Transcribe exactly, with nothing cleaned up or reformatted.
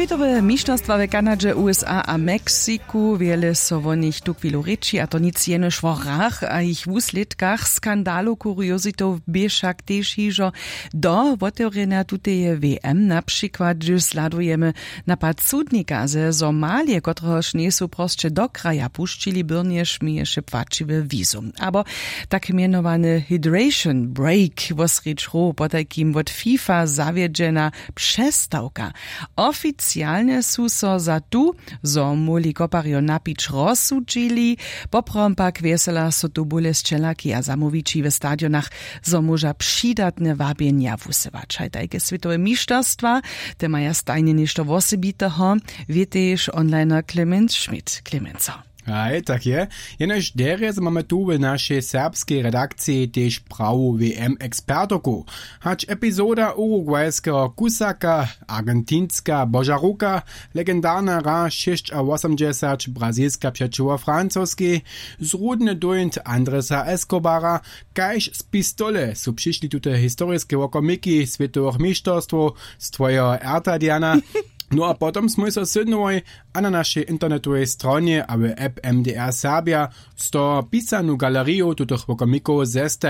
Swětowe mišterstwa w Kanadźe, USA a Meksiku, wjele so wo nich tuchwilu rěči, a to nic jenož wo hrach a jich wuslědkach. Skandalow kuriozitow bě wšak tež hižo do wotewrjenja tuteje WM, na přikład hdyž zhladujemy napad sudnika ze Somalije, kotrehož njejsu prosće do kraja pušćili, byrnjež měješe płaćiwe wizum, abo tak mjenowany hydration break wosrědź hrow, potajkim wot FIFA zawjedźena přestawka. Oficialnje su so za tu, zo móhli koparjo napić, rozsudźili. Poprawom pak wjesela so tu bóle sćelaki a zamołwići w stadionach, zo móža přidatne wabjenja wusyłać. Haj tajke swětowe mišterstwa, te maja stajnje něšto wosebiteho. Wěteješ onliner Clemens Schmidt. Clemenso. Haj, tak je. Jenož derje zo mamy tu w našej serbskej redakciji tež prawu WM ekspertoku. Hač epizoda urugwajskeho kusaka, argentinska božaruka, legendarna hra šěsćawosomdźesać, brazilska přećiwo francoskej, zrudny dóńt Andresa Escobara, kaž z pistole su přišli tute historiske wokomiki swětowych mišterstwow z twojeho erta, Diana. No a potom smój so sydnowoj a na našej internetowej stronje a w app MDR Serbia z toho pisanu galeriju tutych wokomikow zestajić.